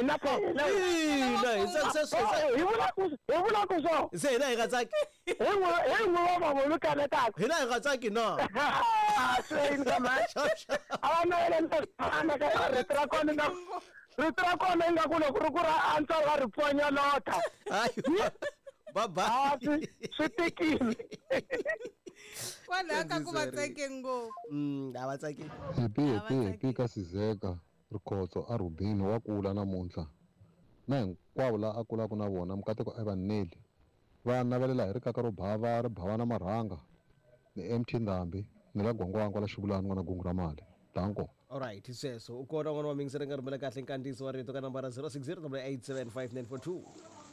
hina phela. Ina, hi se Hi vula ku hi vula ku so. Se hina hi nga tsaki. Hi n'we hi n'we wa mavulu mi kanetaka. Hina hi nga tsaki na. Swi ka mhani. A va navelela ka rito ra kona nga rito ra kona ingaku loko ri ku ra antswa va ri pfonyolota. Bye bye. Swi tikile. Kwalaho ka ku va tsake ngopfu. A va tsaki. Happy happy happy ka Sizeka Rikhotso a Rubini wa kula namuntlha na hinkwavo la a kulaka na vona Mukateko Ivan Neli va navelela hi rikaka ro bava ri bava na marhanga ni MT Ndhambi ni la Gwangwangwa la Xivulani n'wana gungu ra mali danko. Alright, sweswo u kona n'wana wa mingiseri nga rhumela kahle nkandziyiso wa rito ka nambara 0608875942.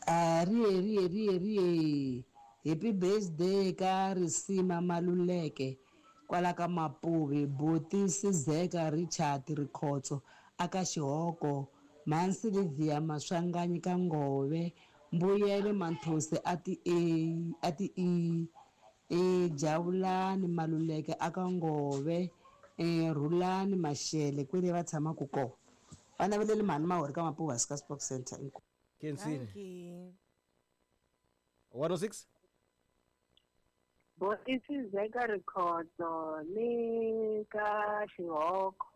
A riye riye riye riye happy birthday ka Risima Maluleke kwala ka Mapuve buti Sizeka Richard Rikhotso aka Xihoko mhani Sylvia Maswanganyi ka Ngove Mbuyelo Manthosi a ti A a ti E e Jawulani Maluleke aka Ngove e Rhulani Mashele kwele va tshamaka kona va naveleli mhani Mahori ka Mapuve hansi ka Sport Center inkomu. Khensile. Dankie. 106 Botisi Zeka Rikhotso ni ka Xihoko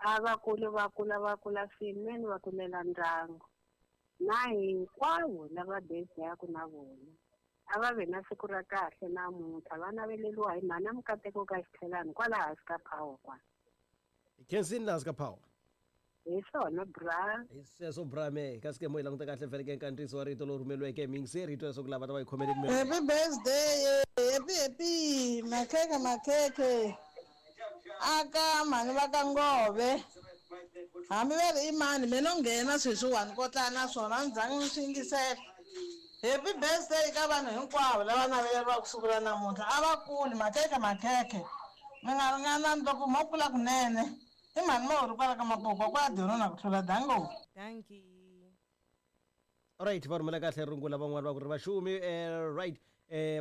a va kuli va kula va kula swinene va kulela ndyangu na hinkwavo lava bezaku na vona a va ve na siku ra kahle namuntlha va naveleriwa hi mhana Mukateko ka Xitlhelani kwala hansi ka power kwala. Khensile laha ka power. Hi swona bra. Hi sweswo bra me kasi ke mo yi languta kahle vhele ke nkandziyiso wa rito lowu rhumeriweke hi miyingiseri hi twa leswaku lava ta va yi khomele Happy birthday, happy happy, makhekhe makhekhe. Aka mhani va ka Ngove. Hambi va ri i mani me no nghena sweswiwani ko tlanga na swona a ni zangi ni swi yingisela. Happy birthday ka vanhu hinkwavo lava naveleriwaka siku ra namuntlha. A va kuli makhekhe makhekhe. Mi nga ringanani loko mo kula kunene. I mhani Mahori kwala ka Mapuva kwala Dorona ku tlula dango. Dankie. Alright, va rhumela kahle rungula van'wana va ku ri vaxumi right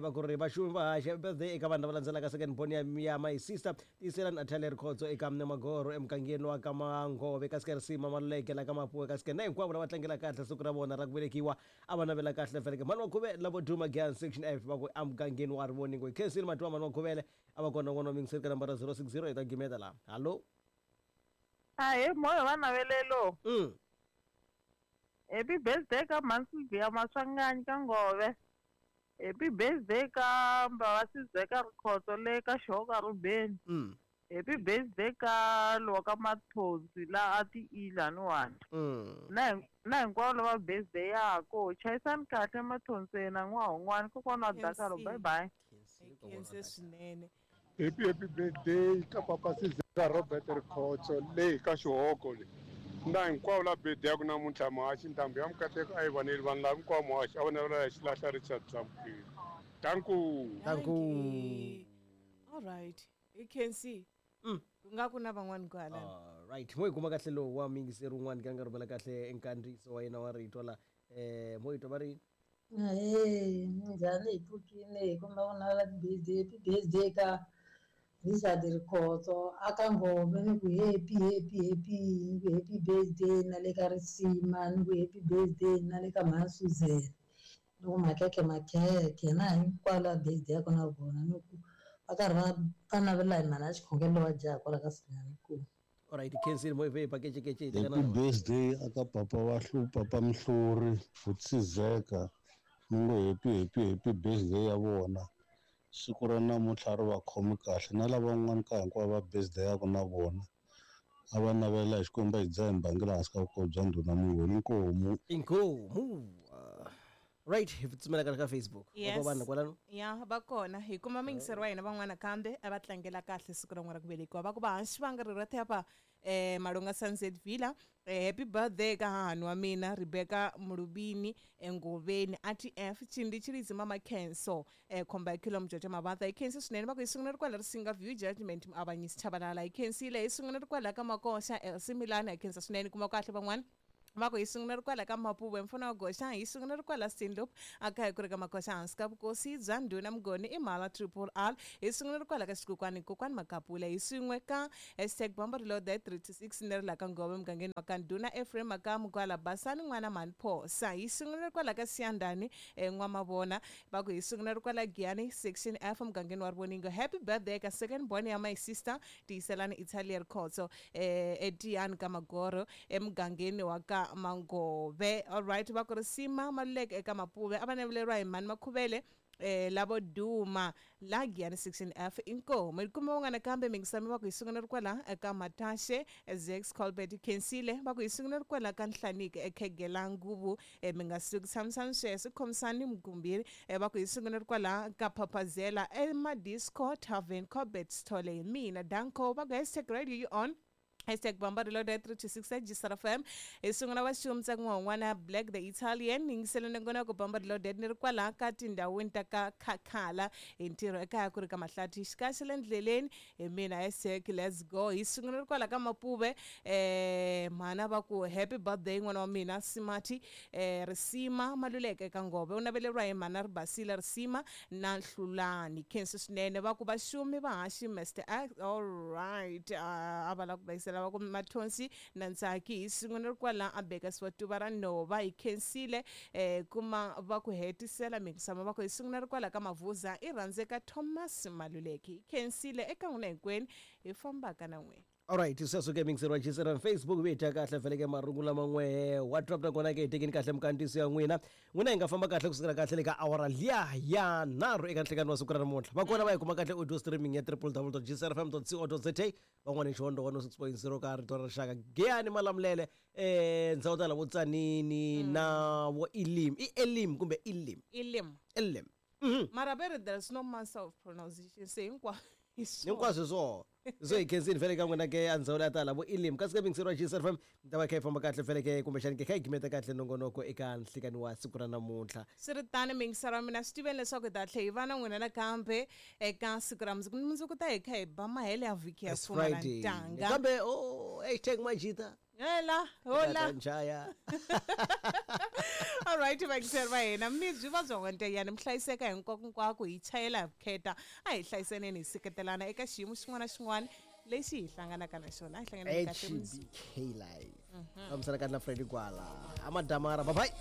va ku ri vaxumi va haxa birthday eka vanhu lava landzelaka second born ya ya my sister tiyiselani Athalia Rikhotso eka Magoro emugangeni wa ka Mangove kasi ka Risima Maluleke la ka Mapuwe kasi na hinkwavo lava tlangela kahle siku ra vona ra ku velekiwa a va navela kahle vhele ke mhani wa Khuvele lavo duma Giyani section F va ku emugangeni wa Rivoningo hi khensile matiwa mhani wa Khuvele a va kona n'wana wa mingiseri ka nambara 060 hi ta gimeta laha hallo. Ahee moya wa navelelo. Happy birthday ka mhani Sylvia Maswanganyi ka Ngove. Happy birthday ka Mbava Sizeka Rikhotso le ka Xihoko Rubeni. Happy birthday ka lowa ka Mathonsi la a ti ilaniwani. Na na hinkwavo lava birthday yako chayisani kahle Mathonseni n'wahon'wani kokwana wa Dakaro bye bye. Khense swinene. Happy happy birthday ka papa Sizeka Robert Rikhotso le ka Xihoko le. Na hinkwavo la birthday ya ku namuntlha muhaxi ntambu ya Mukateko a yi vaneli vanhu lava hinkwavo muhaxi a va navela ya xilahla Richard Dlamukile. Danku. Dankie. All right. I Khensi. Ku nga ku na van'wani kwala. Right, mo yi kuma kahle lowu wa miyingiseri wun'wana ka nga rhumela kahle nkandziyiso wa yena wa rito la mo yi twa va ri Ahee, minjhani hi pfukile hi kombela ku navela ti-birthday happy birthday ka Richard Rikhotso aka Ngove ni ku happy happy happy ni ku happy birthday na le ka Risima ni ku happy birthday na le ka mhani Suzan ni ku makhekhe makhekhe na hinkwavo lava birthday ya kona vona ni ku va karhi va va navela hi mhani ya xikhongelo wa jaha kwala ka Sinyani. Alright, khensile mo yi ve pakecekece Happy birthday aka papa wa hlu papa Mhluri Sizeka ni ngo happy happy happy birthday ya vona siku ra namuntlha ri va khomi kahle na lavan'wana ka hinkwavo va birthday ya ku na vona a va navela hi Xikwembu hi dzaha hi mbangela hansi ka vukoho bya ndhuna Mungoni inkomu. Inkomu. Right, hi tsumela ka Facebook. Yes. Va vanhu kwalano. Ya, va kona. Hi kuma miyingiseri wa hina van'wana kambe a va tlangela kahle siku ra n'wana ra ku velekiwa. Va ku va hansi va nga ri ra thepha Malunga Sunset Villa. Happy birthday ka hahani wa mina Rebecca Mulubini Ngoveni ATF Chindi Chilidzi Mama Khenso khomba ya Kilo Mjojo Mavatha. Hi khensi swinene va ku hi sungula ri kwala Risinga View Judgment Muavanyisi Chabalala. Hi khensile hi sungula ri kwala ka Makoxa Elsie Milana. Hi khensa swinene kuma kahle van'wana. Va ku hi sungula ri kwala ka Mapuve mfana wa goxa, hi sungula ri kwala Steenloop a kaya ku ri ka Makoxa hansi ka vukosi bya ndhuna Mugoni i Mhala Triple R, hi sungula ri kwala ka Xikokwani Kokwani Makapula, hi swin'we ka hashtag Bamba Reloaded 326 ni ri la ka Ngove mugangeni wa ka ndhuna Ephraim Makamu kwala Basani n'wana Mhani Phosa, hi sungula ri kwala ka Siyandhani N'wamavona. Va ku hi sungula ri kwala Giyani section F mugangeni wa Rivoningo. Happy birthday ka second born ya my sister Tiyiselani Italia Rikhotso eTiyani ka Magoro emugangeni wa ka Mangove. Alright, va ku Risima Maluleke eka Mapuve a va naveleriwa hi Mhani Makhuvele lavo duma la Giyani section F inkomu. Hi kuma un'wana kambe mingisami va ku hi sungula ri kwala eka Matashe Zex Colbert Khensile, va ku hi sungula ri kwala ka Nhlaniki ekhegela nguvu mi nga suki tshamisani sweswo khomisani Mgumbiri, va ku hi sungula ri kwala ka Phaphazela eMadisco Tavern Colbert Sithole hi mina Danko. Va ku hashtag radio you on hashtag Bamba Reloaded 326 at Gisara FM. Hi sungula va xumtsa n'wana Black the Italian yingiseleni ngona ku Bamba Reloaded ni ri kwala ka tindhawini ta ka Khakhala hi ntirho ekaya ku ri ka Mahlathi xikaxe le ndleleni hi mina hashtag let's go. Hi sungula ri kwala ka Mapuve mhana va ku happy birthday n'wana wa mina Simati Risima Maluleke eka Ngove u naveleriwa hi mhana Ribasile Risima na Nhlulani Khensi swinene. Va ku vaxumi va haxi Mr X. All right, a va la ku vayisela va ku Mathonsi na Ntsaki hi sungula ri kwala a Bekasiwa tuva ra nhova hi khensile kuma va ku hetisela mingisama va ku hi sungula ri kwala ka Mavuza i rhandzeka Thomas Maluleke hi khensile eka n'wina hinkwenu hi fambaka na n'wina. Alright, sweswo ke mingiseri wa Gisela Facebook vi dya kahle vhele ke marungu lama n'we WhatsApp na kona ke hi tekeni kahle mikandziyiso ya n'wina. N'wina hi nga famba kahle kusukela kahle le ka awara liya ya nharhu eka nhlekani wa siku ra namuntlha. Va kona va yi kuma kahle audio streaming ya www.gcrfm.co.za, van'wana hi Xihondo 106.0 ka Rito ra Rixaka. Giyani Malamulele ndzhawu tala vo Tsanini na vo Elim. I Elim kumbe Elim? Elim. Elim. Mara ve ri there's no master of pronunciation, se hinkwaswo hinkwaswo swona so hi khensini vhele ka n'wina ke a ndzhawu ya tala vo Elim. Kasi ke mingiseri wa Gisela FM mi ta va kha yi famba kahle vhele ke kumbexani ke kha yi gimeta kahle nongonoko eka nhlikani wa siku ra namuntlha. Swi ri tano mingiseri wa mina, swi tiveni leswaku hi ta tlhela hi va na n'wina nakambe eka siku ra mundzuku. Mundzuku ta hi kha hi ba mahele ya vhiki ya fuma na ntanga. Kambe hashtag Majita. Hela, hola. Njaya. All right, vayingiseri va hina mi byi va bya n'wanteyani mi hlayiseka hinkwako hinkwako hi chayela hi vukheta a hi hlayiseneni hi seketelana eka xiyimo xin'wana na xin'wana lexi hi hlanganaka na xona. A hi hlanganeni kahle HBK live. Fambisana kahle na Freddy Gwala. Amadamara, bye bye.